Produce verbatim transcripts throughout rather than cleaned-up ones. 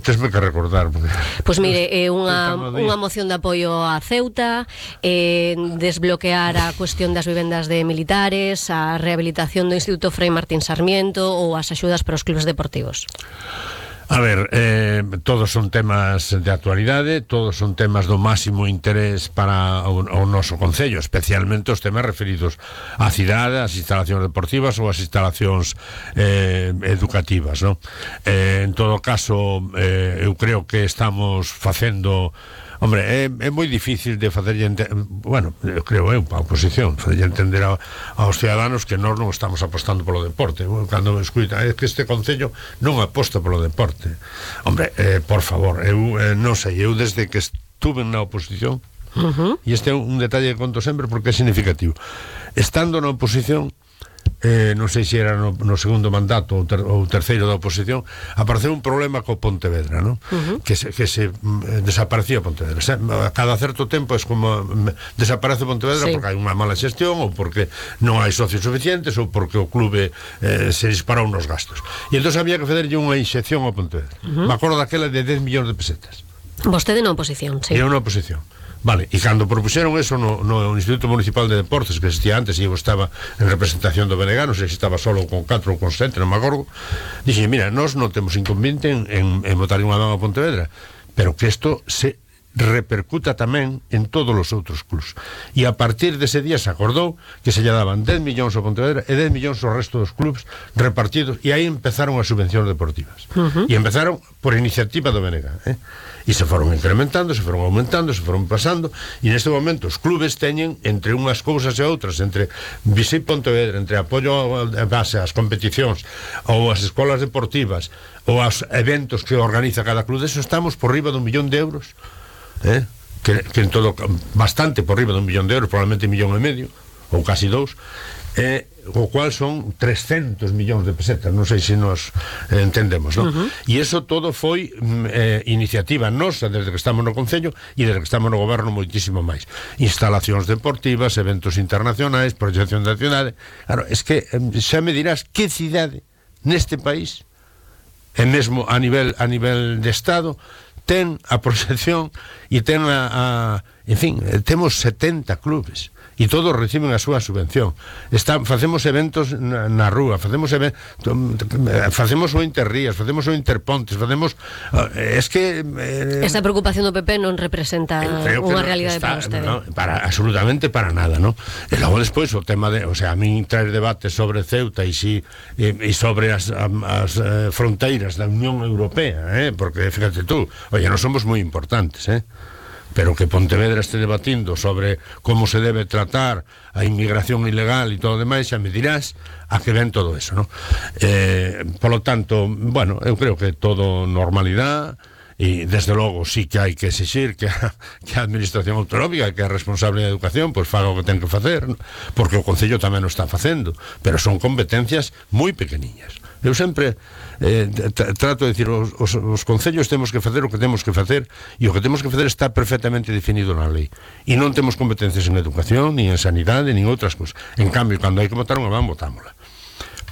Tesme que recordar. Pois pues mire, é unha, unha moción de apoio a Ceuta, eh, desbloquear a cuestión das vivendas de militares, a rehabilitación do Instituto Frei Martín Sarmiento ou as axudas para os clubes deportivos. A ver, eh, todos son temas de actualidade, todos son temas do máximo interés para o, o noso concello, especialmente os temas referidos á cidade, ás instalacións deportivas ou ás instalacións eh, educativas, non? Eh, en todo caso, eh, eu creo que estamos facendo... Hombre, é, é moi difícil de facerlle entender, bueno, eu creo eu, a oposición, facerlle entender a, aos ciudadanos que nós non estamos apostando polo deporte. Cando me escuita, é que este concello non aposta polo deporte. Hombre, eh, por favor, eu eh, non sei, eu desde que estuve na oposición, uh-huh. e este é un detalle que conto sempre porque é significativo, estando na oposición, Eh, non sei se era no, no segundo mandato ou, ter, ou terceiro da oposición, apareceu un problema co Pontevedra, non? Uh-huh. que se, que se eh, desaparecía Pontevedra. Se, a cada certo tempo é como me, desaparece Pontevedra, sí, porque hai unha mala xestión ou porque non hai socios suficientes ou porque o clube eh, se disparou nos gastos, e entón había que facerlle unha inxección ao Pontevedra. Uh-huh. Me acordo daquela de dez millóns de pesetas. Vostede na oposición, sí. E eu na oposición. Vale, e cando propuxeron eso no, no Instituto Municipal de Deportes, que existía antes, e eu estaba en representación do B N G, non sei se estaba solo con catro ou con sete, non me acordo, dixen, mira, nós non temos inconveniente en, en, en botar unha man a Pontevedra, pero que isto se repercuta tamén en todos os outros clubs. E a partir dese día se acordou que se lle daban dez millóns ao Pontevedra e dez millóns ao resto dos clubs repartidos, e aí empezaron as subvencións deportivas. Uh-huh. E empezaron por iniciativa do B N G, eh? E se foron incrementando, se foron aumentando, se foron pasando, e neste momento os clubes teñen, entre unhas cousas e outras, entre Visit Pontevedra, entre apoio a base ás competicións ou as escolas deportivas ou aos eventos que organiza cada club, eso estamos por riba dun millón de euros, eh? que, que en todo, bastante por riba dun millón de euros, probablemente un millón e medio ou casi dous, eh, o cual son trescentos millóns de pesetas, non sei se nos eh, entendemos, non? Uh-huh. E iso todo foi eh, iniciativa nosa desde que estamos no Concello e desde que estamos no Goberno moitísimo máis. Instalacións deportivas, eventos internacionais, proxección da cidade. Claro, es que eh, xa me dirás que cidade neste país, e mesmo a nivel a nivel de Estado, ten a proxección e ten a, a en fin, temos setenta clubes e todos reciben a súa subvención. Está, facemos eventos na, na rúa, facemos event, facemos o Interrías, facemos o Interpontes, facemos es que eh, esa preocupación do P P non representa unha realidade para vostede. No, para absolutamente para nada, ¿no? E logo despois o tema de, o sea, a min traer debates sobre Ceuta e si e, e sobre as, as eh, fronteiras da Unión Europea, eh, porque fíjate tú, oye, non somos moi importantes, eh? Pero que Pontevedra este debatindo sobre como se debe tratar a inmigración ilegal e todo o demais, xa me dirás a que ven todo eso, ¿no? Eh, polo tanto, bueno, eu creo que todo normalidade, e desde logo sí que hai que exixir que a, que a administración autonómica, que é responsable da educación, pois faga o que ten que facer, ¿no? Porque o Concello tamén o está facendo, pero son competencias moi pequeniñas. Eu sempre eh, trato de decir, os, os, os concellos temos que facer o que temos que facer, e o que temos que facer está perfectamente definido na lei, e non temos competencias en educación, ni en sanidade, ni en outras cosas. En cambio, cando hai que botar unha van, botámola,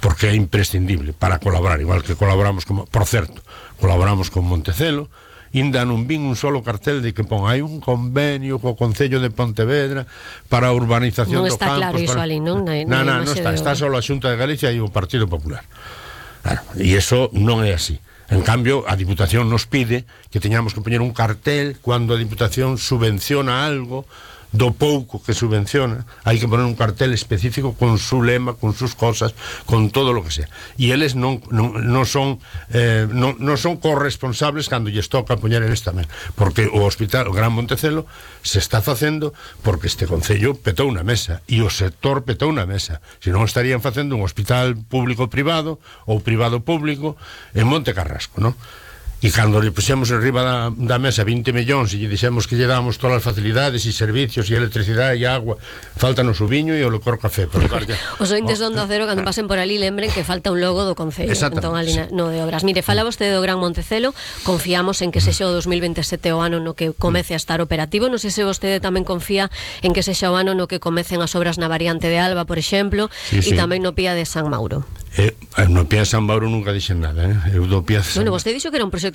porque é imprescindible para colaborar, igual que colaboramos con, por certo, colaboramos con Montecelo. Inda non vin un solo cartel de que pon hai un convenio co Concello de Pontevedra para a urbanización do campus. Non está claro iso ali, non? Non, non, non está, está só a Xunta de Galicia e o Partido Popular. Claro, e iso non é así. En cambio, a Diputación nos pide que teñamos que poñer un cartel cando a Diputación subvenciona algo, do pouco que subvenciona, hai que poner un cartel específico con su lema, con sus cosas, con todo lo que sea. E eles non, non, non son eh, non, non son corresponsables cando lles toca poñer eles tamén, porque o hospital, o Gran Montecelo, se está facendo porque este Concello petou unha mesa e o sector petou unha mesa, se non estarían facendo un hospital público-privado ou privado-público en Monte Carrasco, non? E cando lle puxemos en riba da, da mesa vinte millóns e lle dixemos que lle damos todas as facilidades e servicios e electricidade e agua, faltanos o viño e o licor café. Pero, claro, que, os ointes do Onda Cero, cando pasen por ali, lembren que falta un logo do Concello, entón ali no de obras. Mire, fala vostede do Gran Montecelo, confiamos en que sexa o dos mil veintesete o ano no que comece a estar operativo. Non sei se vostede tamén confía en que sexa o ano no que comecen as obras na variante de Alba, por exemplo, e sí, sí, tamén no Pía de San Mauro. Eh, no Pía de San Mauro nunca dixen nada, eh? Eu do Pía de San... Bueno, vostede dixo que era un proxecto